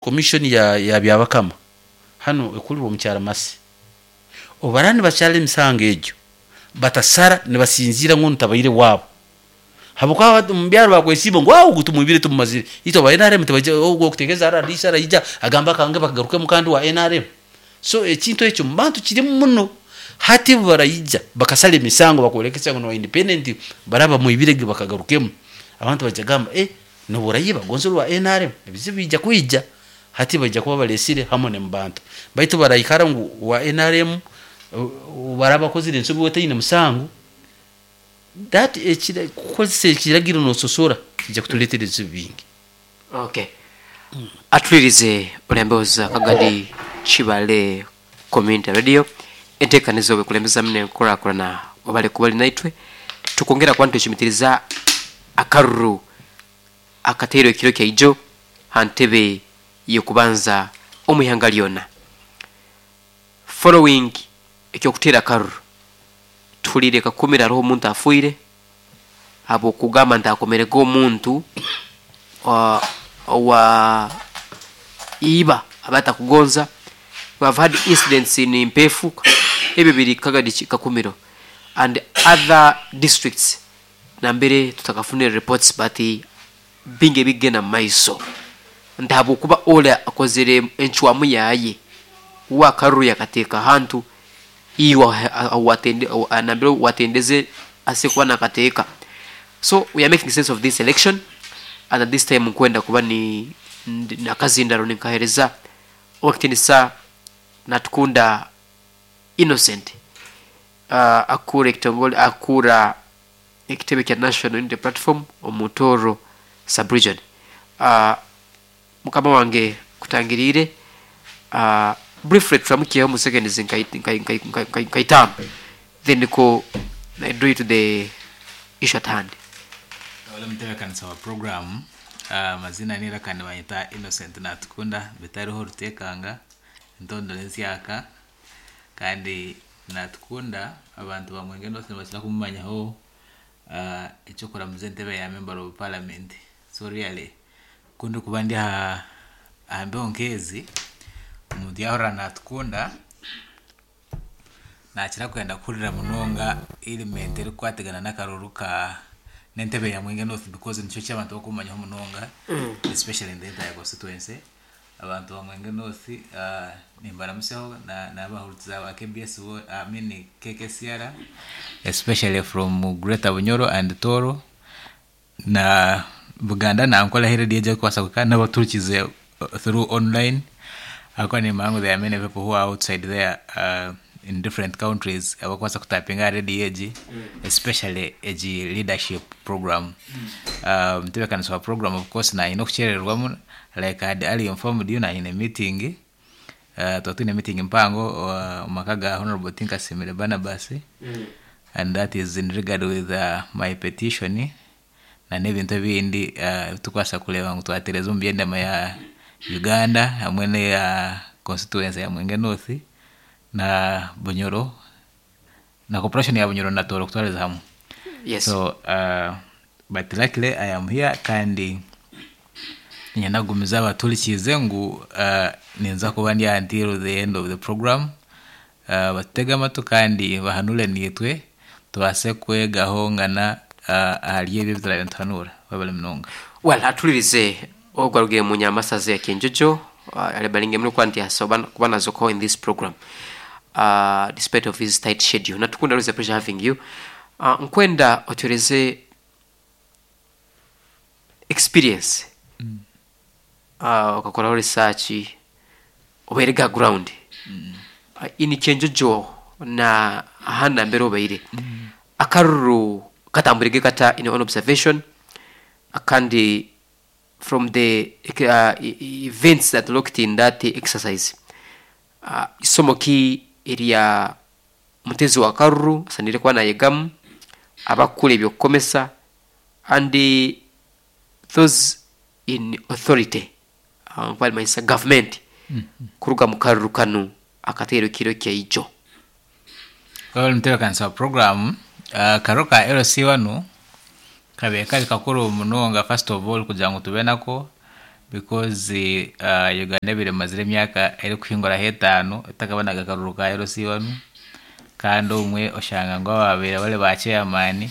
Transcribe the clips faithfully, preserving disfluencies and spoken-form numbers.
Commission ya, ya Byabakama hanu ekulirwa omukyara Masi obara nibakyara emisango egyo batasara nibasinziira ngu ntabaire waabo habwokuba omu byaro bakwesiiba ngu ogu tumwibire tumumazire itwe aba N R M tibaija ogu okutegeeza R D C araija agambe akange bakagarukemu kandi wa N R M. So ekintu ekyo mu bantu kirimu muno. Hati baraija bakasara emisango bakwolekesa ngu niba independent baraba bamwibire ge bakagarukemu abantu baija gamba, eh, nobu orayiba gonza ori wa N R M, ebizibu biija kwija. Hati baija kuba balesire hamwe ne mubantu baitu baraikara ngu wa N R M baraba bakozire ensobi otaine musango that ekira kukozesa ekiragiro nososora kijja kutuleetera ebizibu bingi. Okay, atulirize olembeoza Kagadi Kibale Community Radio, entekaniza obwekulembezamu nenkulakulana wabale kuba oli naitwe. Tukwongera kuba nitwecumitiriza akaruru akateirwe ekiro kyaijo ha ntebe y'okubanza omu ihanga lyona. Following ekyokutera akaruru, tuhuliire Kakumiro hariho omuntu afiire habwokugamba nti akomerege omuntu uh, owa iba aba atakugonza. We have had incidents in Mpefu, ebyo biri Kagadi Kakumiro and other districts nambere tutakafunire reports, but bingi ebigenda mu maiso nti habwokuba ole akozere encwamu yaye wakaruru yakateeka ahantu iwe nambere watendeze ase kuba nakateeka. So we are making sense of this election, and at this time nkwenda kuba ni nakazindaro ninkahereza owakitinisa Natukunda Innocent, uh, akura ekitongole akura ekitebe kya National Unity Platform omu Tooro subregion. uh, mukama wange kutangiriire, uh, briefly turamukiyeho mu seconds nka itaano, then ko I draw you to the issue at hand. Ole mutebekanisa wa program, amazina uh, nira kandi banyita Innocent Natukunda bitariho rutekanga ntondore nsyaka. Kandi Natukunda abantu bamwenge North nibakira kumumanyaho uh, ekyokuramuza entebe ya member of parliament. So really kundi kuba ndi aha aha mbeho nk'ezi, omuntu yahurira Natukunda nakira kwenda kuhurira munonga element erikukwatagana n'akaruru ka n'entebe ya Mwenge North, because nikyo ky'abantu bakumanyaho munonga, especially in the entire constituency. Abantu ba Mwenge North, uh, nimbaramuseho n'abahurikiza ba K B S, bo- I mean K K C R, especially from Greater Bunyoro and Toro na Buganda na Ankole radio ejja kukwasa kuka n'abaturukize uh, through online akuba nimanya ngu there are many people who are outside there uh, in different countries abakwasa kutapinga radio egi, especially egi leadership program. um, mutebekanisa wa program, of course nayine okukyererwamu. Like I had earlier informed you, nayine meeting, uh, tuba twine meeting mpango uh, omu maka ga Honorable Tinkasimire Barnabas, and that is in regard with uh, my petition na n'ebintu ebindi uh, tukwasa kureeba ngu twatereza omu byendema ya Uganda hamwe n'eya constituency ya Mwenge North na Bunyoro na corporation ya Bunyoro na Toro kutwariza hamwe. Yes. So uh, but luckily I am here, kandi ninyenda kugumiza abaturikize ngu uh, ninza kuba ndi until the end of the program. uh, batutege amatu kandi bahanure nitwe tubase kwegaho ngana uh, ahari ebyo ebiturabe nituhanura. Webale munonga. Well, atulirize ogwarugire mu nyamasaza ya Kenjojo, uh, alibalinge muri kuba nti asoba kuba nazoko in this program uh, despite of his tight schedule. Natukunda, always a pleasure having you. uh, nkwenda otereze experience, uh, ukakoraho research obaire ga ground uh, ini Kyenjojo na ahandi mbere obaire, akaruru katambulike kata in your own observation, akandi from the uh, e- events that looked in that exercise, uh, isomo ki erya mutezi wa karuru asanire kuba nayegamu abakula ebyokukomesa and those in authority, uh, nkubalimanyisa government, kuruga mu karuru kanu akateero kiro kyaijo? Webale mutebekanisa wa program. uh, karuru ka L C wanu kabe kari kakuru munonga. First of all, kugira ngu tube nako Because uh, Uganda ebire emazire emyaka erikuhinguraho etaano etakabonaga akaruru ka L C one. Kandi obumwe oshanga ngu ababaire bari ba chairman,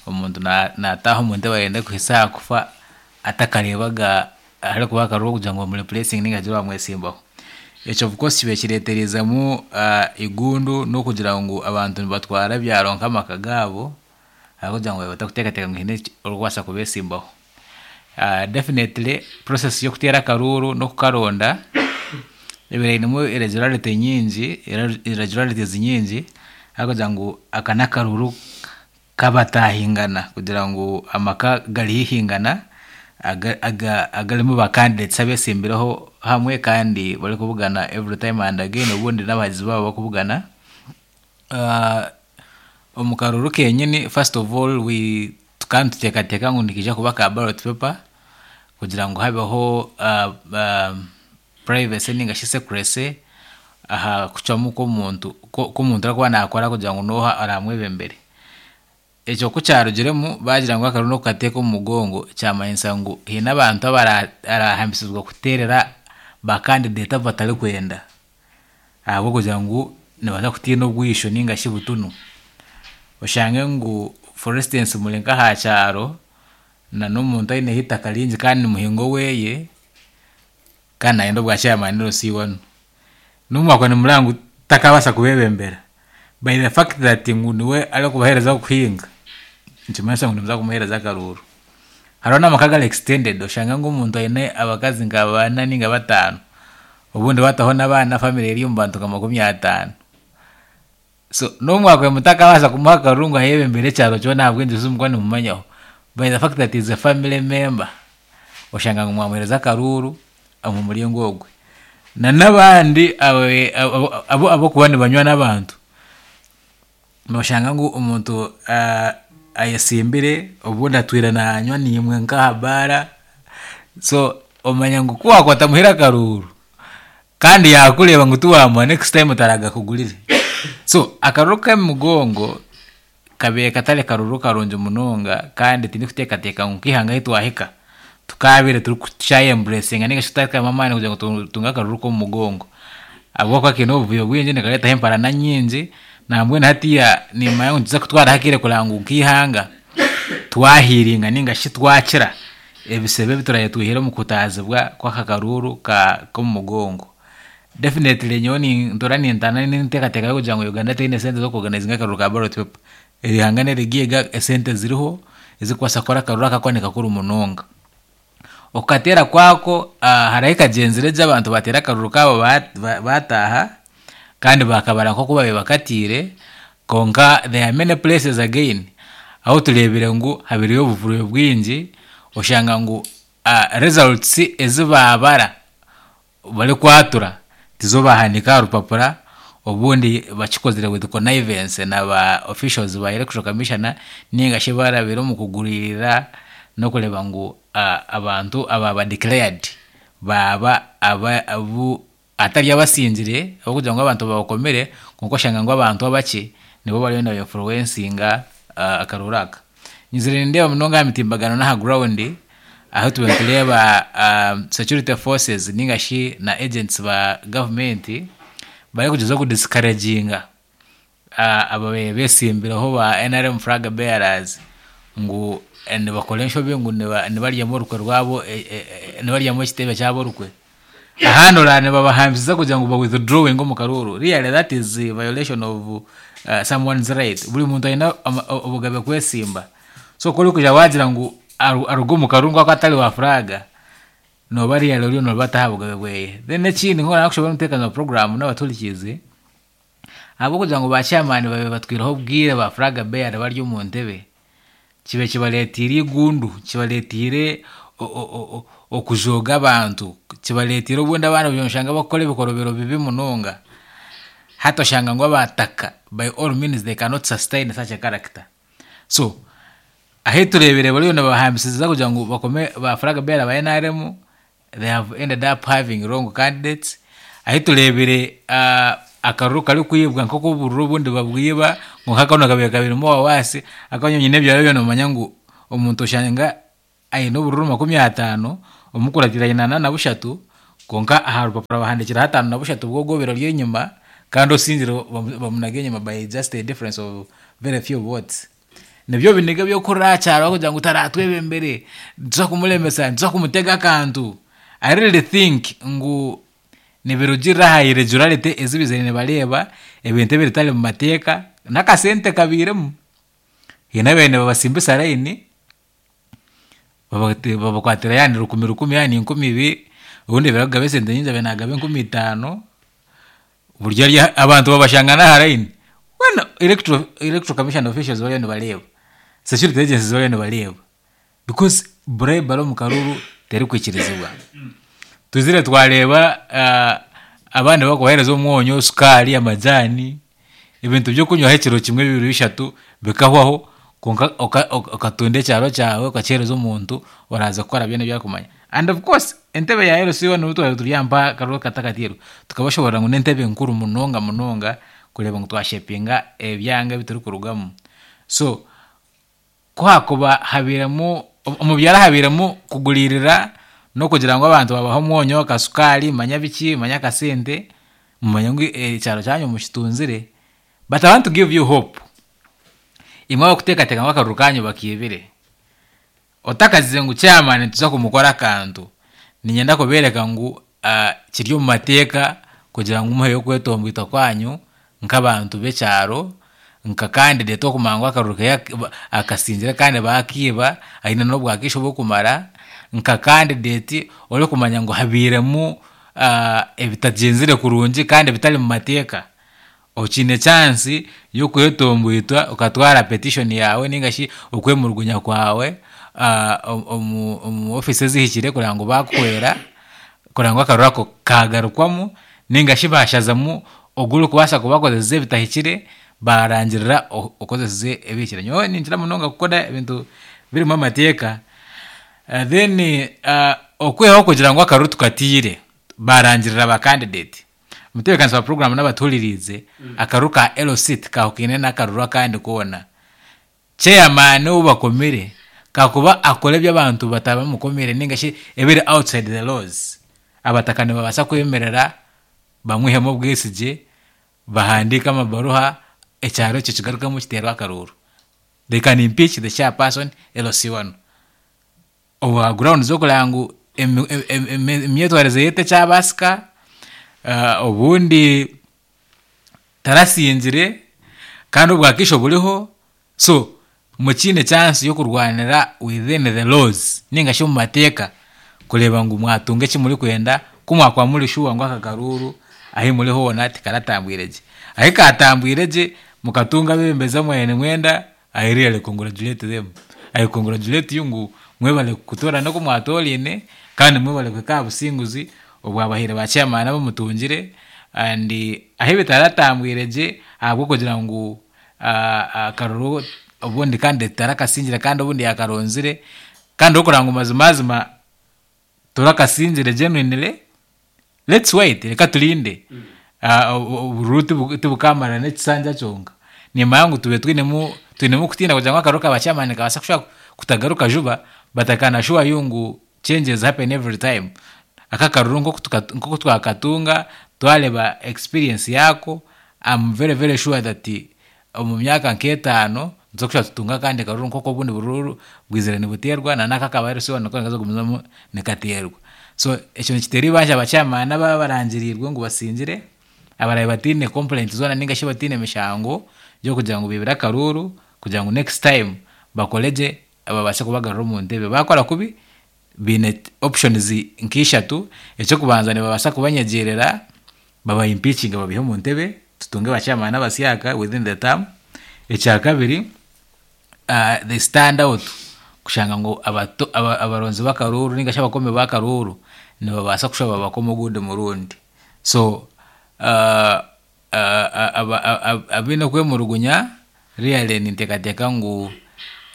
omuntu na- nataaha omu ntebe ayenda kuhisa aha kufa atakareebaga harikuba akaruru kugira ngu bamureplacinge ninga hagire owamwesimbaho. Ekyo of course kibaire kireeterezemu uh, igundu n'okugira ngu abantu nibatwara ebyaro nk'amaka gaabo ahabw'okugira ngu batakuteekateeka ngu hiine orikubaasa kubeesimbaho. Uh, definitely process y'okuteera akaruuru n'okukaronda ebaire einemu irregularity nyingi, irregularities nyingi, ahabw'okugira ngu aka n'akaruuru kabatahingana, kugira ngu amaka garihingana aga- aga- agarimu ba candidates abesimbireho hamwe kandi barikubugana every time and again, obundi n'abahagizi baabo bakubugana. Uh, omu karuuru kenyini, first of all, we tukaba nituteekateeka ngu nikiija kuba ka ballot paper kugira ngu habeho uh, uh, privacy ninga shi secrecy aha kucwamu kw'omuntu kw'omuntu arikuba nakora kugira ngu n'oha aramwebembere. Ekyo ku kyarugiremu bagira ngu akaruru n'okukateeka omu mugongo, kyamanyisa ngu hiine abantu abarahambisibwa kuteerera ba candidate abu batarikwenda ahabw'okugira ngu nibaza kutiina obwisho ninga shi butunu. Oshange ngu, for instance, muri nk'aha kyaro na n'omuntu aineho eitaka ringi kandi ni muhingo oweye kandi nayenda obwa chairman L C one, n'omwakwa nimureba ngu takabaasa kubebembera. By the fact that ngu niwe arikubaheereza kuhinga, nikimanyisa ngu nimuza kumuheereza akaruuru. Hariho n'amaka agari extended, oshanga ngu omuntu aine abakazi nka bana ninga bataano, obundi bataho n'abaana, family eri omu bantu nka makumi ataano. So n'omwaka mutakabaasa kumuha akaruru ngu ayebembere ekyaro kyona ahabw'enju mukuba nimumanyaho, by the fact that is a family member, oshanga ngu mwamuheereza akaruuru omu muringo ogwe. Na n'abandi abo abokuba nibanywa n'abantu, noshanga ngu omuntu uh, ayesimbire, obundi atwire nanywa nimwe nk'aha baara. So omanya ngu ku wakwata muheera akaruuru kandi yakureeba ngu tiwamuha, next time taragakugurire. So akaruru k'emigongo kabaire katari karuru karungi munonga, kandi tindikuteekateeka ngu nk'eihanga ahu twahika tukabaire turikukyayembracinga ninga shi tutarikutamu amaani kugira ngu tutunge akaruru k'omu mugongo, ahabw'okuba kiine obuvuyo bwingi, nikareetaho emparana nyingi. Nambwenu hatiya nimanya ngu nikiza kutwaraho akaire kureba ngu nk'eihanga twahiringa ninga shi twakira ebisebe ebi turabe twihire omu kutaazibwa kw'aka karuuru ka k'omu mugongo. Definitely nyowe nintura nintana n'enteekateeka y'okugira ngu Uganda teine sente z'okuorganizinga akaruru ka ballot paper. Eihanga n'erigiiga, esente ziriho ezikubaasa kukora akaruru aka ni kakuru munonga. Okukateera kwako, uh, hariho ekagyenzire gye, abantu bateera akaruru kaabo bataaha kandi bakabara nk'oku babaire bakatiire. Konka there are many places again ahu tureebire ngu habiriyo obuvuyo bwingi, oshanga ngu uh, results ezi babara barikwatura tizo bahandiika aha rupapura. Obundi bakikozire with connivance na ba officials ba Electoral Commissioner, ninga shi barabire omu kugurira n'okureeba ngu uh, abantu ababa declared baba aba abu atari abasingire, ahabw'okugira ngu abantu babakomire. Konka oshanga ngu abantu abakye nibo bariyo nibainfluencinga uh, akaruru aka. Nyizire nindeeba munonga aha mitimbagano n'aha ground aho tuba nitureeba uh, security forces ninga shi na agents ba government barikugyezaho kudiscouraginga uh, ababaire besimbireho ba N R M flag bearers ngu eh, nibakora enshobi, ngu niba- nibaryamu orukwe rwabo, eh, eh, eh, nibaryamu ekitebe kyabo orukwe. Ahandi oraba nibabahambisiza kugira ngu ba withdrawing omu karuuru. Really, that is a violation of uh, someone's right. Buri muntu aine ama- obugabe kwesimba. So kuri kuja wagira ngu aru- aruge omu karuuru ngu atari wa flag, noba really oriyo noba ataha bugabe bweye. Then ekindi, nko nakushobora omuteekanizi wa program n'abaturikiize, ahabw'okugira ngu ba chairman babe batwireho obwire ba flag bearer bari omu ntebe, kibe kibareetiire igundu, kibareetiire o- o- o- okujooga abantu, kibareetiire obundi abaana oshanga bakukora ebikorobero bibi munonga. Hati oshanga ngu abataka by all means they cannot sustain such a character. So ahi tureebire bariyo nibahambisiza kugira ngu bakome ba flag bearer ba N R M, they have ended up having wrong candidates. Ahi tureebire uh, akaruru karikwibwa, nk'oku obururu obundi babwiba, ngu nk'akano kabaire kabirimu wawasi akanyonyi n'ebyaro byona. Nomanya ngu omuntu oshanga aine obururu makumi ataano. Omukuratira aine ana na bushatu, konka aha rupapura bahandikire ataano na bushatu bw'ogwobiro ry'enyima, kandi osingire bamu- bamunaga enyima by just a difference of very few votes. Nibyo biniga by'okuhurira aha kyaro kugira ngu taratwebembere, nituza kumuremesa, nituza kumutega akantu. I really think ngu nibirugirira aha irregularity ezi bizire nibareeba, ebintu ebiritari mu mateeka, n'akasente kabiiremu. Hiine abaire nibabasimbisa layini, babate- babakwatira yaani rukumi rukumi yaani nkumi ibiri, obundi abaire arikugaba esente nyingi abaire nagaba enkumi itaano, buryo ari abantu babashanga n'aha layini. Weena electoral, electoral commission officials bariyo nibareeba, security agencies bariyo nibareeba because bribery omu karuru terikwikirizibwa. Tuzire twareeba uh, abandi bakubaheereza omwonyo, sukaari, amajaani, ebintu by'okunywaho ekiro kimwe bibiri bishatu bikahwaho, konka oka- oka- okatunda ekyaro kyawe okakiheereza omuntu oraza kukora byona ebi arikumanya. And of course entebe ya L C one twaba turi aha mpa akaruru katakatiirwe, tukabashoborera ngu n'entebe nkuru munonga munonga kureeba ngu twashapinga ebyanga ebi turikurugamu. So ku hakuba habiiremu omu byaro habiiremu kuguriirira n'okugira ngu abantu babaha omwonyo, akasukaari, manya biki, manya akasente, mumanye ngu ekyaro kyanyu mukitunzire. But I want to give you hope. Imwe abakuteekateeka ngu akaruru kanyu bakiibire, otakazize ngu chairman nituza kumukora akantu, niinyenda kubeereka ngu uh, kiri omu mateeka kugira ngu muheyo okwetomboita kwanyu nk'abantu b'ekyaro, nka candidate okumanya ngu akaruru keye akasingire kandi bakiiba, aine n'obwakaiso bw'okumara, nka candidate orikumanya ngu habiiremu uh, ebitagyenzire kurungi kandi bitari mu mateeka. Okiine chance y'okwetomboitwa okatwara petition yawe ninga shi okwemurugunya kwawe uh, omu, omu office ezihikire kugira ngu bakuhwera kugira ngu akaruru ako kagarukwamu ninga shi bashazamu ogu orikubaasa kuba akozesize ebitahikire, barangirira okozesize ebihikire. Nyowe ninkira munonga kukora ebintu birimu amateeka. Uh, then uh, okwihaho kugira ngu akaruru tukatiire barangirira ba candidate, mutebeekanisa wa program n'abatuhuririize, akaruru ka L C tikahukaine n'akaruru akandi koona. Chairman ou bakomire kakuba akora eby'abantu batabamukomire ninga shi ebiri outside the laws, abataka nibabaasa kwemerera bamwihemu obwesigye, bahandiike amabaruha, ekyaro ekyo kigarukemu kiteerwe akaruru. They can impeach the chairperson L C one obwa ground z'okureba ngu emi- em- em- emyetwarize ye tekyabaasika, uh, obundi tarasingire kandi obwakaiso buriho. So mukiine chance y'okurwanira within the laws ninga shi omu mateeka kureeba ngu mwatunga eki murikwenda, ku mwakuba muri sure ngu aka karuru ahi muri hoona tikaratambwire gye. Ahi katambwire gye mukatunga abebembezi abu nimwenda, I really congratulate them. I congratulate you ngu mwebale kutoorana oku mwatoraine, kandi mwebale kuhika aha businguzi obwabahire ba chairman abu mutungire. And ahi bitaratambwire gye ahabw'okugira ngu uh, akaruru obundi kandi tarakasingire kandi obundi yakaronzire, kandi okuranga ngu mazimazima turakasingire genuinely, let's wait, reka turinde. Obururu tibukamara n'ekisanja kyonka. Nimanya ngu tube twinemu twinemu kutiina kugira ngu akaruru ka chairman kabaasa kushobora kutagaruka juba, but I can assure you ngu changes happen every time. Aka akaruru nk'oku twakatunga, twareba experience yako, I'm very very sure that omu myaka nk'etaano nituza kushusha tutunga akandi karuru nk'oku obundi bururu bwizire nibuteerwa, na n'aka akaba L C one nako nikaza kugumizamu nikateerwa. So ekyo nikiteera eibanja aba chairman ababa barangiriirwe ngu basingire, abarabe bataine complaint zoona ninga shi bataine mishango y'okugira ngu biibire akaruru, kugira ngu next time bakore gye babaase kubagarura omu ntebe. Bakora kubi, biine options nk'ishatu. Ekyokubanza, nibabaasa kubanyegyerera baba impeachinga babihe omu ntebe, tutunge ba chairman abasyaka within the term. Ekya kabiri, uh, they stand out kushanga ngu abato- aba- abaronzi b'akaruru ninga shi abakomi b'akaruru nibabaasa kushuba babakoma ogundi murundi. So uh, uh, aba- aba- abaine okwemurugunya, really ninteekateeka ngu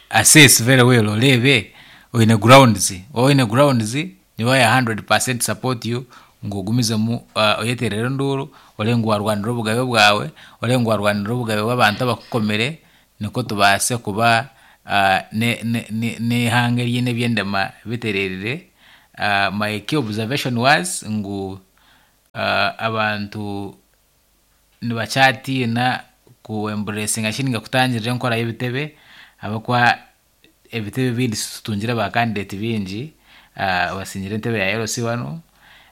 assess very well, oreebe oine grounds. Oine grounds, niba ya one hundred percent support you ngu ogumizemu uh, oyeterere enduuru, orebe ngu warwanira obugabe bwawe, orebe ngu warwanira obugabe bw'abantu abakukomire, nikwo tubaase kuba uh, n'eihanga eriine ebyendema bitererire. Uh, my key observation was ngu uh, abantu nibakyatiina ku embracinga shi ninga kutangirira enkora y'ebitebe, ahabw'okuba ebitebe ebindi tutungire ba candidate bingi uh, basingire entebe ya L C wanu,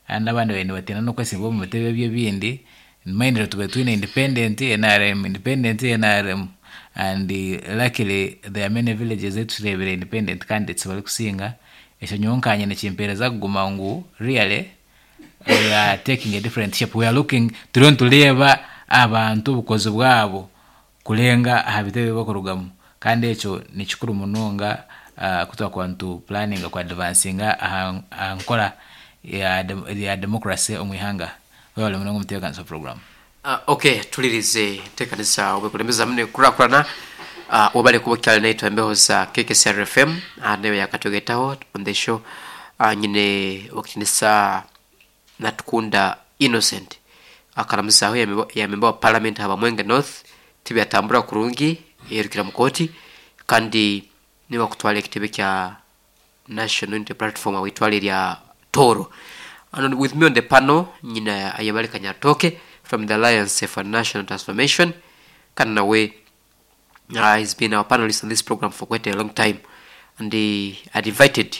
and abandi babaire nibatiina n'okwesimba omu bitebe ebyo ebindi. Mind tube twine independent N R M, independent N R M, and uh, luckily there are many villages ezitureebire independent candidates barikusinga. Ekyo nyowe nkanye nikimpeereza kuguma ngu really we are taking a different shape. We are looking, turiyo nitureeba abantu obukozi bwabo kurenga aha bitebe bakurugamu, kandi ekyo nikikuru munonga uh, kutwakuba nitu planninga ku advancinga aha aha nkora ya, dem- ya democracy omu ihanga. Webale munonga omutebeekanisa program. Uh, okay, tulirize tekanisa obwekulembeza mune kukurakurana. uh, wabale kuba okyali naitwe embeho za K K C R F M, uh, nayo yakatwegetaho on the show. uh, nyine wakitinisa Natukunda Innocent akaramuzaho ya member wa parliament haba Mwenge North, tibyatambura kurungi, yerukira mukoti, kandi niwe kutwala ekitebe kya National Unity Platform awitwale lya Toro. And with me on the panel nyina Ayabale Kanyatoke from the Alliance for National Transformation, kandi nawe uh, he's been our panelist on this program for quite a long time, and he had invited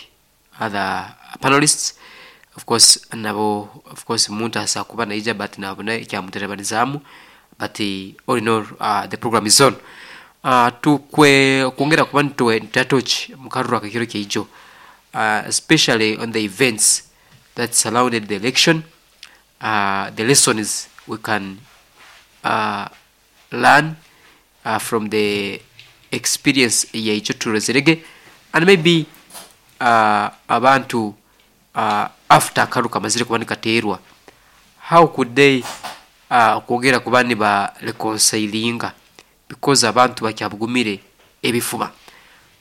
other panelists, of course nabo, of course muntu asa kuba naija, but nabona ekyamuterebanizamu, but uh, all in all, uh, the program is on. uh, tukwe kwongera kuba nitwe nitatoch mukaruru akakiro kyeijo, uh, especially on the events that surrounded the election, uh, the lessons we can uh, learn uh, from the experience yaicho turezerege, and maybe uh, abantu uh, after akaru kamazire kuba nikateerwa, how could they uh, kwongera kuba niba reconcilinga, because abantu bakyabugumire ebifuba.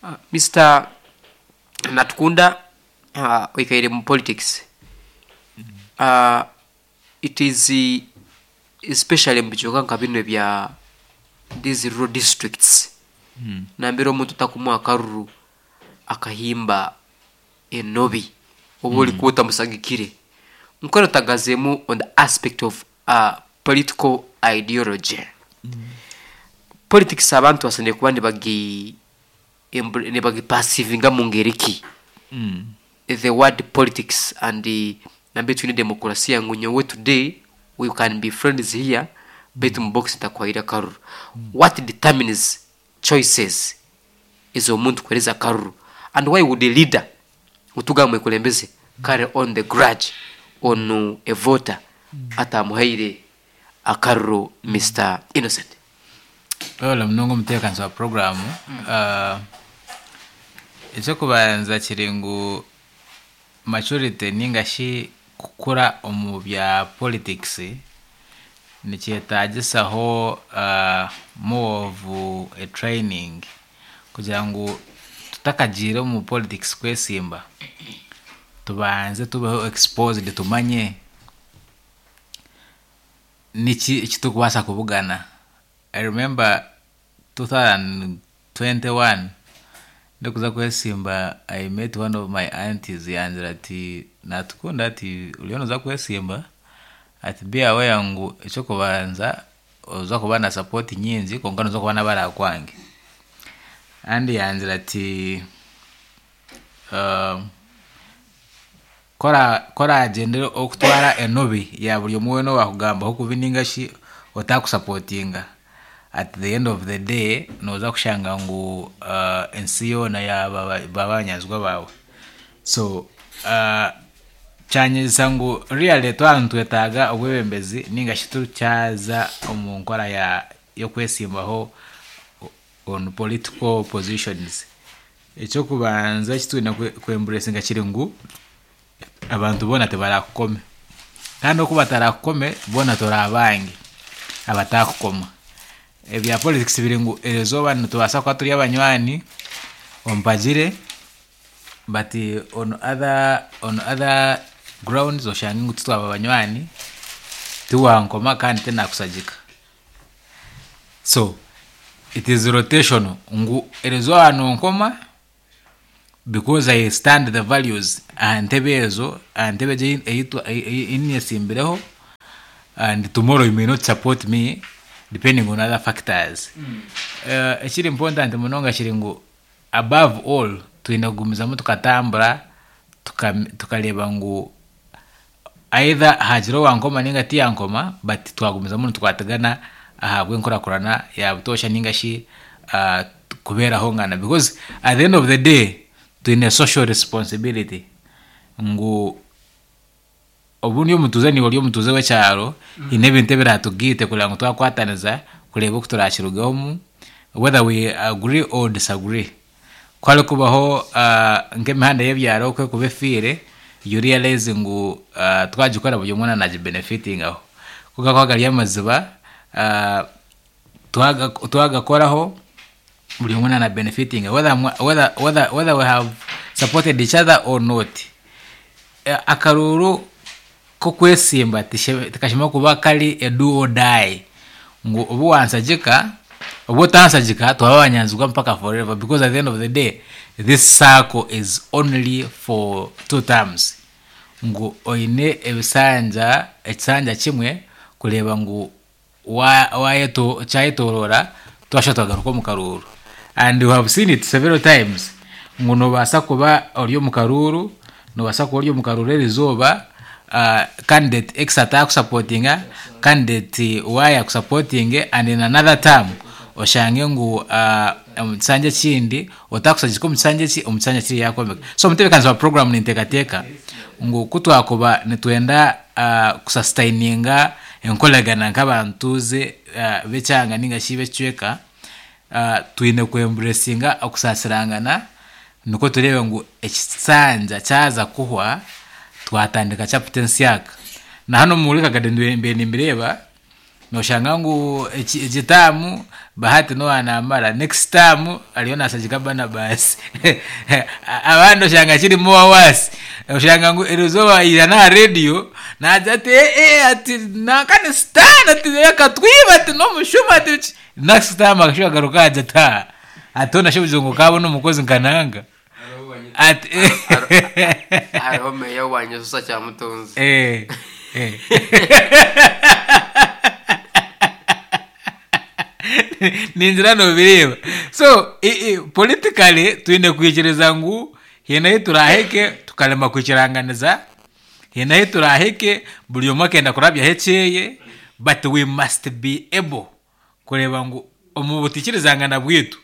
uh, Mister Natukunda, uh, oikaire mu politics, uh, it is uh, especially mu bicoka nka bino ebya these rural districts, mm. nambere omuntu takumuha akaruru akahimba enobi oba oli kuba otamusagikire. Nkono tagazeemu on the aspect of uh, political ideology, politics abantu basanire kuba nibagi embr- nibagipasivinga mu ngeri ki? Mm. The word politics and the nambe twine demokrasia ngu nyowe today we can be friends here, baitu mu box ntakwahira karuru. What determines choices ez'omuntu kuhereza karuru, and why would a leader utugamba ekulembeze carry on the grudge on a voter atamuhaire akaruru, Mister Innocent? Webale munonga omutebeekanisa wa programu. uh, ekyokubanza kiri ngu maturity ninga shi kukura omu bya politics nikyetagisaho uh, more of a training, kugira ngu tutakagiire omu politics kwesimba tubanze tubeho exposed, tumanye niki ekitukubaasa kubugana. I remember twenty twenty-one ndikuza kwesimba, I met one of my aunties, yangira ati, "Natukunda," ati, "uriyo noza kwesimba," ati, "be aware ngu ekyokubanza oza kuba na support nyingi, konka noza kuba n'abarakwange." And yangira ati, um, kora koragyendere okutwara enobi ya buri omwe weena owakugambaho kubi ninga shi otakusupportinga, at the end of the day noza kushanga ngu uh, ensi yoona yaba baba abanyanzigwa baawe. So uh, kyanyegyesa ngu really twaba nitwetaaga obwebembezi ninga shi turikyaza omu nkora ya y'okwesimbaho on political positions, ekyokubanza ekitwine kwembracinga kiri ngu abantu boona tibarakukome, kandi oku batarakukome boona turi abange abatakukoma. Ebya politics biri ngu erizooba nitubaasa kuba turi abanywani ompagire, but on other, on other grounds oshange ngu titwaba abanywani, tiwankoma kandi tinakusagika. So it is rotational, ngu erizooba nonkoma, Because I stand the values aha ntebe ezo, aha ntebe egi ei nyesimbireho, and tomorrow you may not support me depending on other factors. Ekiri important munonga kiri ngu above all twine kugumizamu tukatambura tukareeba ngu either hagira owankoma ninga tiyankoma, but twagumizamu nitukwatagana ahabw'enkurakurana ya butoosha ninga shi kubeeraho ngana, because at the end of the day twine social responsibility ngu obundi omutuuze niiwe ori omutuuze w'ekyaro, hiine ebintu ebiratugaite kureba ngu twakwataniza kureeba oku turakirugamu, whether we agree or disagree. Ku harikubaho nk'emihanda y'ebyaro oku erikuba efiire, you realize ngu twagikora buri omwe nagibenefitingaho. Ku gakuba gari amaziba, twagakoraho buri omwe nabenefitinga whether, whether, whether, whether we have supported each other or not. Akaruuru k'okwesimba tikashemereire kuba kari a do or die, ngu obu wansagika obu otansagika twaba abanyanzigwa mpaka forever, because at the end of the day this circle is only for two terms, ngu oine ebisanja ekisanja kimwe kureeba ngu kyayetooroora twashuba twagaruka omu karuuru. And we have seen it several times ngu noobaasa kuba ori omu karuuru, noobaasa kuba ori omu karuuru erizooba, candidate X atakusupportinga, candidate Y akusupportinge, and in another term oshange ngu omu kisanja ekindi otakusagika omu kisanja eki, omu kisanja kiri yakwomeka. So omutebeekanisa wa program ninteekateeka ngu ku twakuba nitwenda kusustaininga enkoragana nk'abantuuze b'ekyanga ninga shi b'ekicweka, twine kwembracinga okusaasirangana nikwo tureebe ngu ekisanja kyaza kuhwa twatandika chapter ensyaka. Na hanu omuri Kagadi mbiire nimbireeba, noshanga ngu egi term Bahati niwe namara, next term ariyo nasagika Barnabas, abandi oshanga kiri more worse, oshanga ngu erizooba yaija n'aha radio naagira ati ee ati nanka ni sitaani ati akatwiba ati n'omushuma ati biki, next term akashuba agaruka agira ati haa ati hoona shi obugira ngu okaabona omukozi nka nanka ati Hariho meeya wa Kyamutonzi. Eh, eh. Ningira nobireeba. So politically twine kwikiriza ngu hiine ahu turaahike tukarema kwikiranganiza, hiine ahu turaahike buri omwe akenda kurabyaho ekyeye, but we must be able kureeba ngu omu butikirizangana bwitu,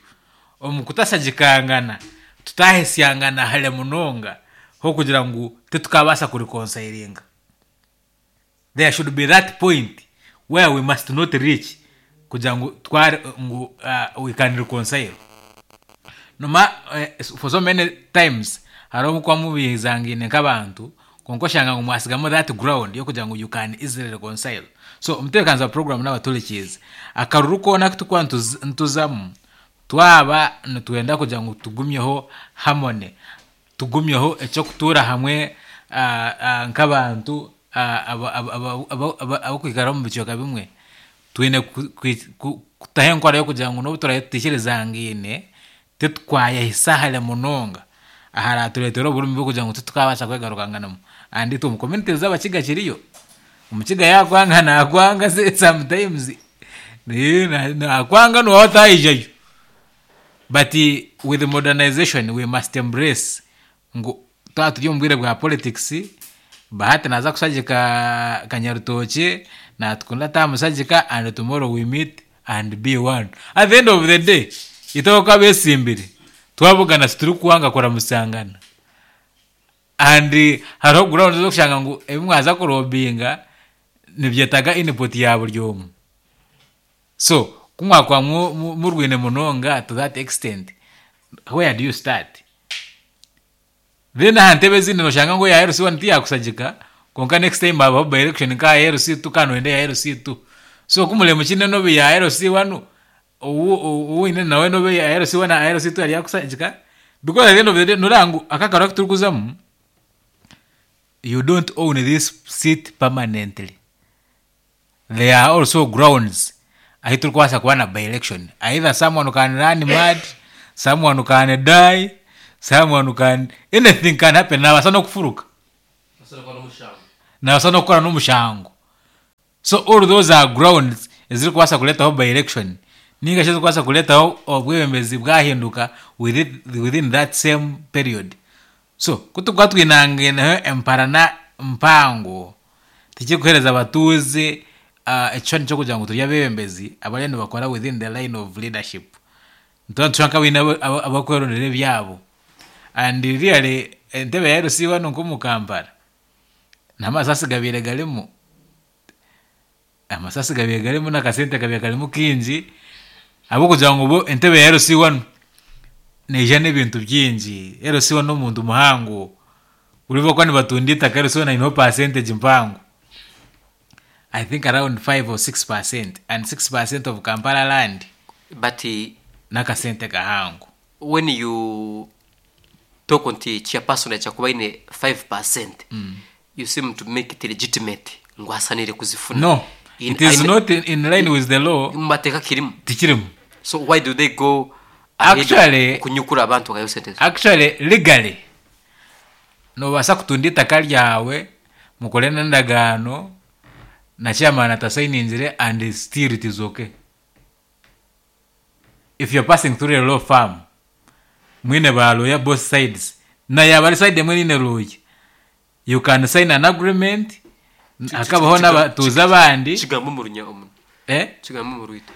omu kutasagikangana, tutahesyangana hare munonga hokugira ngu titukabaasa kureconcilinga. There should be that point where we must not reach kugira ngu tware ngu uh, we can reconcile. Noma uh, for so many times hariho obu mubizangaine nk'abantu, kwonka oshanga ngu mwasigamu that ground y'okugira ngu you can easily reconcile. So omutebeekanisa wa program n'abaturikiize, akaruru koona aku turikuba nituzamu, twaba nitwenda kugira ngu tugumyeho harmony, tugumyeho eky'okutuura hamwe nk'abantu abakwikara omu bicweka bimwe, twine kutaho enkora y'okugira ngu n'obu turaabe tutikirizangaine titwayehisa hare munonga aharatureetera oburumi bw'okugira ngu titukabaasa kwegarukanganamu. And itwe omu communities z'abakiga kiriyo, omukiga yaakwanga naakwanga sometimes nakwanga nooba otaijayo. But with modernization we must embrace ngu twaba turi omu bwire bwa politics, Bahati naaza kushagika Kanyarutookye, natukunda taamushagika, and tomorrow we meet and be one. At the end of the day itwe nk'oku abeesimbire twabugana titurikwanga kuramutsangana, and hariho ground ez'okushanga ngu ebi mwaza kurobinga nibyetaaga input ya buri omwe. So ku mwakuba murwine munonga to that extent, where do you start? Then aha ntebe ezindi noshanga ngu eya L C one tiyakusagika, kwonka next time habaho by election nka L C two kandi noyenda eya L C two. So ku mureba mukine nobu ya L C one, ou oine nawe nobu eya L C one na L C two yari yakusagika, because at the end of the day noreeba ngu aka akaruru aku turikuzamu, you don't own this seat permanently. There are also grounds ahu turikubaasa kuba na by election. Either someone can run mad, someone can die, Someone who can, anything can happen. Nabasa n'okufuruka, nabasa n'okukora n'omushango. So all those are grounds ezirikubaasa kureetaho by election ninga shi ezirikubaasa kureetaho obwebembezi bwahinduka within, within that same period. So kutukuba twinangineho emparana mpango, tikikuheereza abatuuze uh, ekishushani ky'okugira ngu turi abebembezi abariyo nibakora within the line of leadership. Nituba nitushusha nk'abaine abakwerondera ebyabo. And really entebe ya L C wanu nk'omu Kampala n'amasasi gabaire garimu, amasasi gabaire garimu n'akasente kabaire karimu kingi, ahabw'okugira ngu bo entebe ya L C wanu neija n'ebintu bingi. L C one n'omuntu muhango, buri bakuba nibatunda itaka, L C one aineho percentage mpango, I think around five or six percent, and six percent of Kampala land But eh, n'akasente kahango. When you talk nti chairperson aja kuba ine five percent, you seem to make it legitimate ngu asanire kuzifuna. No, In- it is aine- not in, in line with the law. Mu mateeka kirimu? Tikirimu. So why do they go ahead Actually- kunyukura abantu bakayo sente? Actually, legally nobaasa kutunda itaka ryawe mukore n'endagaano na chairman atasayiningire and still it is okay. If you're passing through a law firm, mwine ba lawyer both sides, na yaba ari side emwe niine lawyer, you can sign an agreement, hakabaho n'abatuuzi abandi. Kigambo mu runya omu Eh? Kigambo mu rwito.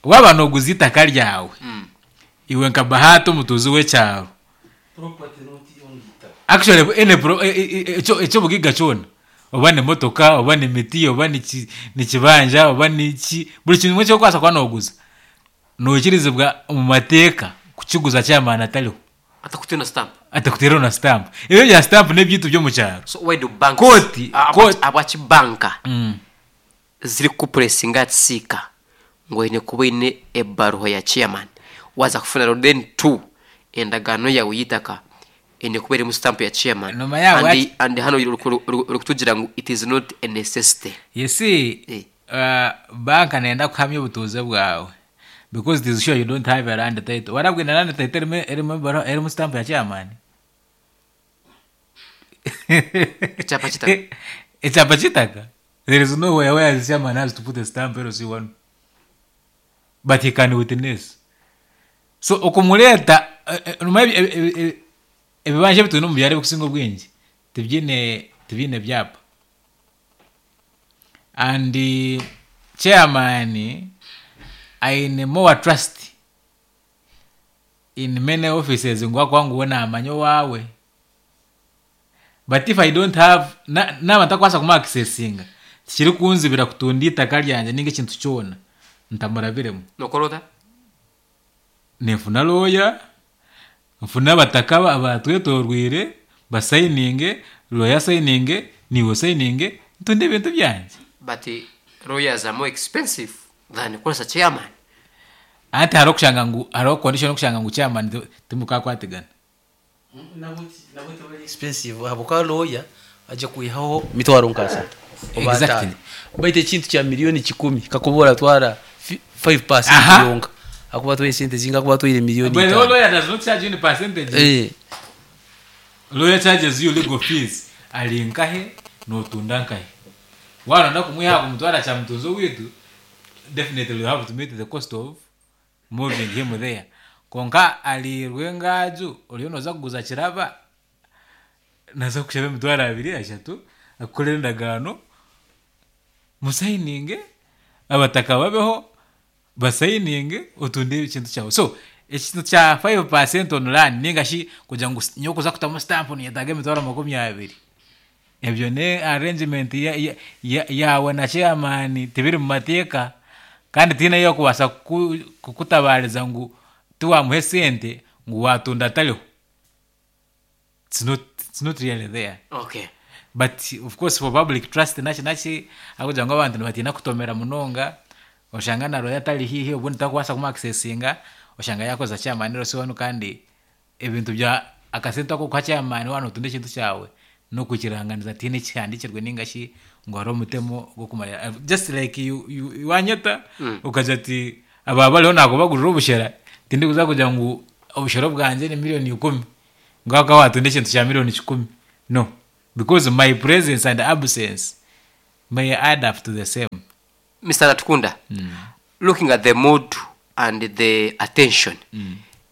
Waba noguza itaka ryawe, Mm. iwe nka Bahati omutuuzi w'ekyaro, actually any pro e- e- e- ekyo ekyobugiga kyona, oba nemotoka, oba nemiti, oba niki- nikibanja, oba niki, buri kintu kimwe ekyokubaasa kuba noguza, nokirizibwa omu mateeka kukiguza chairman atariho. Atakutena stamp? Atakuteeraho na stamp. Ebyo bya stamp n'ebyitu by'omu kyaro. So why do banks Kooti- Ah, kooti- abaki banka Mm. ziri kupuresinga tsiika ngu oine kuba oine ebaruha ya chairman waza kufuna, then two, endagaano yawe y'itaka eine kuba erimu stamp ya chairman? Nyuma yaho and, ati- and hano uri uri kutugira ngu it is not a necessity. You see, Eh. uh, banka nenda kuhamya obutuuze bwawe because it is sure you don't have a land title. Warabwine land title erimu erimu ebaro- erimu stamp ya chairman? Ekyapa kitaka. Ekyapa kitaka. There is nowhere where the chairman has to put a stamp L C one, but he can witness. So okumuleeta eh, eh, nyuma ebi- ebi- ebi- ebibanja ebitwine omu byaro ebikusinga obwingi tibyine tibyine byapa, and eh, chairman aine more trust in many offices ngu akuba ngu we namanya owaawe. But if I don't have na- naba ntakubaasa kumuaccessinga, tikirikunzibira kutunda itaka ryangye ninga ekintu kyona ntamurabiremu. Nokora ota? Ninfuna lawyer, nfuna abataka abatwetorwire basayininge, lawyer asayininge, niiwe osayininge, ntunde ebintu byangye. But eh, lawyers are more expensive than kukozesa chairman. Anti hariho okushanga ngu hariho condition okushanga ngu chairman ti- timukakwatigana. Expensive habwokuba lawyer ajja kwihaho mitwaro nkasatu oba Exactly. ataano, baitu ekintu kya miliyoni kikumi kakuba oratwara five percent Aha. yonka, akuba atwaire sente zinga, akuba atwaire miliyoni But the itaano. lawyer does not charge you any percentage. Eh, Lawyer charges you legal fees. Ali nkahe notunda nkahe, waronda kumwiha kumutwara kya mutunzi witu, definitely you have to meet the cost of moving him there. Konka ali rwengaju oriyo noza kuguza kiraba, naza kushaba emitwaro abiri ashatu, akukorera endagaano, musayininge, abataka babeho basayininge, otunde ekintu kyawe. So ekintu kya five percent on land ninga shi kugira ngu nyowe kuza kutamu stamp niyetaaga emitwaro makumi abiri, ebyo ne arrangement ya- ya- ya- yawe na chairman, tibiri mu mateeka kandi tiine yokubaasa kuku- kukutabariza ngu tiwamuha esente ngu watunda atariho. it's not, it's not really there. Okay. But of course for public trust naki naki, akugira ngu abantu nibatiina kutomera munonga, oshanga na lawyer atari hihi, obundi takubaasa kumuaccessinga, oshanga yakoza chairman L C wanu. Kandi ebintu bya akasente ako kuha chairman wanu otunda ekintu kyawe n'okukiranganiza, tiine ekihandikirwe ninga shi ngu hariho omutemo gw'okumanya. Just like you, you, wanyeta mm. ukagira ati aba bariho nakubagurira obushera, tindikuza kugira ngu obushera bwangye ni miliyoni ikumi. Ngaka watunda ekintu kya miliyoni kikumi. No, because my presence and absence may add up to the same. Mister Natukunda, looking at the mood and the attention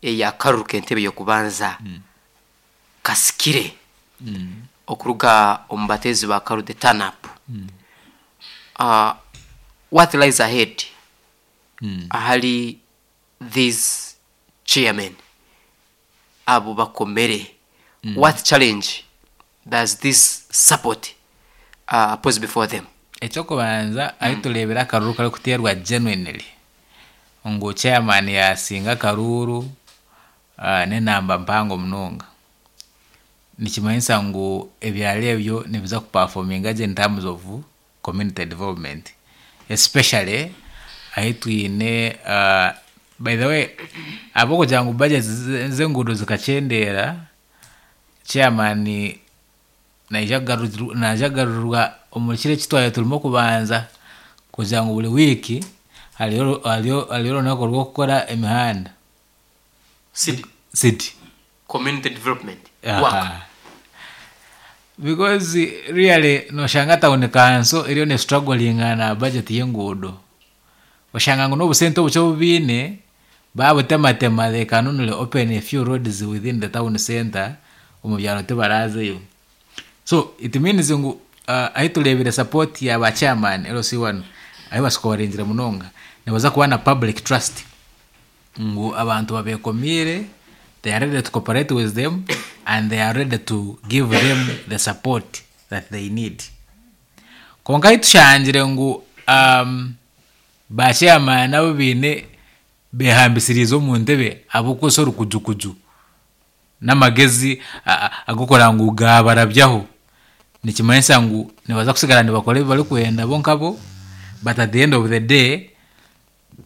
eyakaruru k'entebe y'okubanza kasikire okuruga omu bateezi ba karu, the turn up, uh, what lies ahead ahali these chairmen abo bakomere? What challenge does this support uh, pose before them? Ekyokubanza, ahi tureebera akaruru karikuteerwa genuinely ngu chairman yasinga akaruru uh, n'enamba mpango munonga, nikimanyisa ngu ebyaro ebyo nibiza kuperforminga gye in terms of community development, especially ahi twine uh, by the way, ahabw'okugira ngu budget z'enguudo zikakyendeera, chairman naija kugarurwa naija kugarurwa omu kiro eki twaba turimu kubanza kugira ngu buri wiiki hariyo hariyo hariyo orunaku rw'okukora emihanda. City. City. Community development work. Aha. Because really noshanga town council eriyo nestrugglinga na budget y'enguudo, oshanga ngu n'obusente obukye obu biine babutematema, they can only open a few roads within the town center, omu byaro tibarazeyo. So it means ngu uh, ahi tureebire support ya ba chairman L C one ahi basikoringire munonga, nibaza kuba na public trust ngu abantu babekomiire, they are ready to cooperate with them and they are ready to give them the support that they need. Konka ahi tushangire ngu um, ba chairman abo biine behambisiriize omu ntebe ahabw'okukozesa orukujukuju n'amagezi ag'okureba ngu gabarabyaho, nikimanyisa ngu nibaza kusigara nibakora ebi barikwenda bo nkabo, but at the end of the day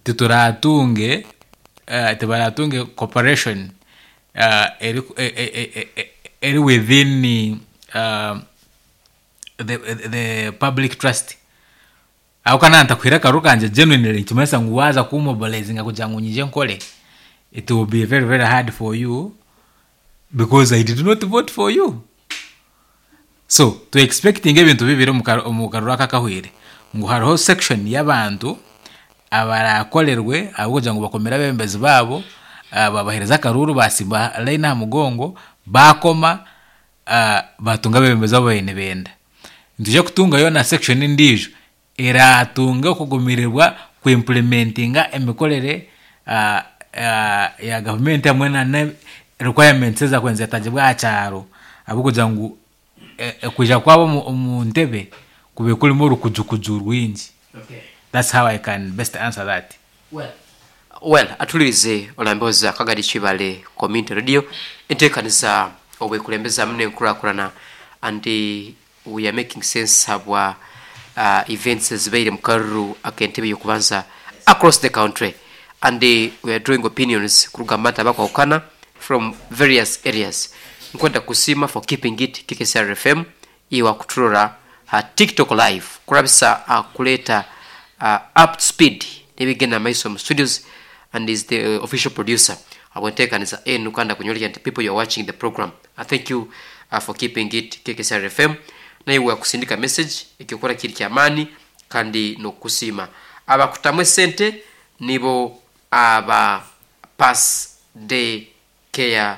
tituratunge uh, tibaratunge cooperation uh, eri, e, e, e, e, eri within uh, the, the public trust. Aho kana ntakuhira akaruru kanje genuinely, nikimanyisa ngu waza kumobilizinga kugira ngu nyije nkore, it will be very very hard for you because I did not vote for you. So to expecting ebintu bibiri omu karuru aka akahwire, ngu hariho section y'abantu abarakorerwe ahabw'okugira ngu bakomere abebembezi baabo, uh, babahereza akaruru, basimba line aha mugongo, bakoma uh, batunga abebembezi abo baine benda. Nitwija kutungayo na section endiijo eratunga okugumirirwa kuimplementinga emikorere uh, uh, ya gavumenti hamwe na requirements ezakwenza zetagibwa aha kyaro, ahabw'okugira ngu kwija kwabo omu ntebe kube kurimu orukujukuju rwingi. Okay. That's how I can best answer that. Well, well atulirize olamboza Kagadi Kibale Community Radio, enteekaniza obwekulembeza n'enkulakulana, and we are making sense habwa uh, events ezibaire mu karuru ak'entebe y'okubanza across the country, and we are drawing opinions kuruga mu bantu abakwahukana from various areas. Nkwenda kusiima for keeping it K K C R F M. Iwe akuturora ha TikTok Live kurabisa akuleeta uh, up to speed n'ebigenda maiso mu studios and is the uh, official producer abwenteekaniza enu, kandi akunyolekya nti people, you are watching the program. I thank you uh, for keeping it K K C R F M. Naiwe akusindika message, ekyokola kiri kyamaani kandi n'okukusiima. Abakutamu esente nibo aba Pass Day Care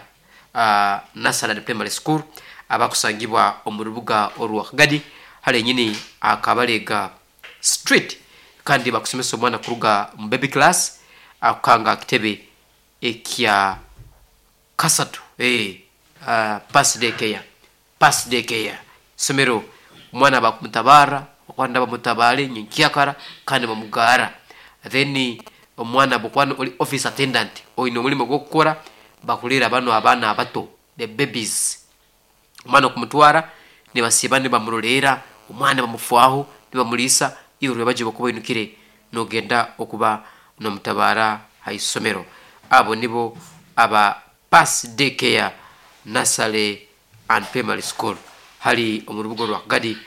uh, Nursery and Primary School abakusangibwa omu rubuga orwa Kagadi hali enyini Akabalega Street, kandi bakusomesa omwana kuruga mu baby class akukanga akitebe ekya kasatu. eh, uh, Pass Day Care, Pass Day Care somero, omwana bakumutabaara okwanda bamutabale nyenkyakara kandi bamugara. Then omwana bwokwana oli office attendant oyina omulimu gwokukora, bakulera bano abaana abato, the babies. Omwana okumutwara nibasiiba nibamuroleera omwana, bamufwaho, nibamuliisa. Iwe lwebaje okuba oinukire nogenda okuba nomutabaara haisomero. Abo nibo aba Pass Day Care Nursery and Primary School hali omu rubuga rwa Kagadi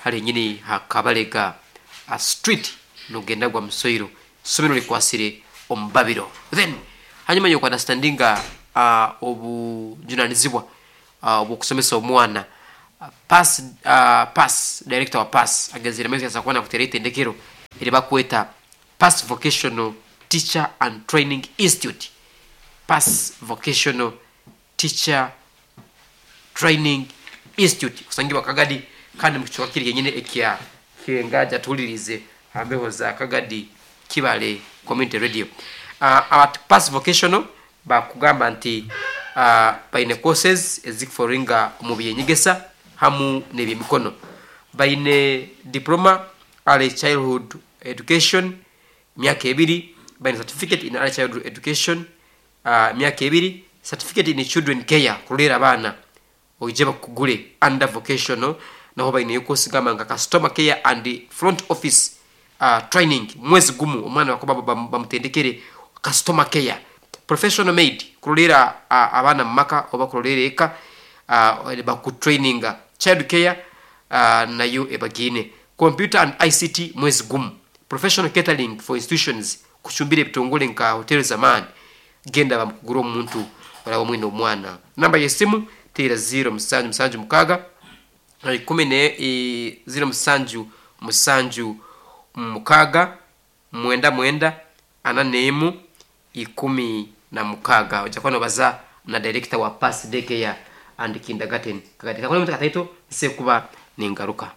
hali nyini ha Kabalega a Street nogenda gwa Musoiro, somero likwasire omubabiro. Then hanyuma yokuunderstandinga uh, obujunanizibwa uh, obwokusomesa omwana. Uh, pass uh, pass director wa pass agenzere maiso yaza kuba nakutera itendekero eri bakweta Pass Vocational Teacher and Training Institute. Pass Vocational Teacher Training Institute kusangibwa Kagadi, kandi mukichwa kiri yenyine ekya Kirengaja. Tuwulirize ambeho za Kagadi Kibale Community Radio. uh, abat Pass Vocational bakugamba nti uh, baine courses ezikuforinga mu byenyegesa hamu n'ebyemikono. Baine diploma early childhood education myaka ebiri, baine certificate in early childhood education uh, myaka ebiri, certificate in children care, kulera abaana, oije bakugule under vocational. Naho baineyo course gamba nga customer care and front office uh, training, mwezi gumu, omwana wakuba bamutendekere customer care. Professional maid, kulolera uh, abaana mumaka oba kulolera eka, uh, bakutraininga. Child care uh, nayo ebagine. Computer and I C T, mwezi gumu. Professional catering for institutions, kuchumbira ebitongole nka hotel zamaani, genda bamukugura omuntu olaba omwine omwana. Namba yesimu teera zero musanju musanju mukaaga ikumi ne eh, zero musanju musanju mukaaga mwenda mwenda ana nemu ikumi na mukaaga. Ojja kuba nobaza na director wa Pass Daycare and Kindergarten Kagadi. Kakole mutaka taito nsekuba ningaruka.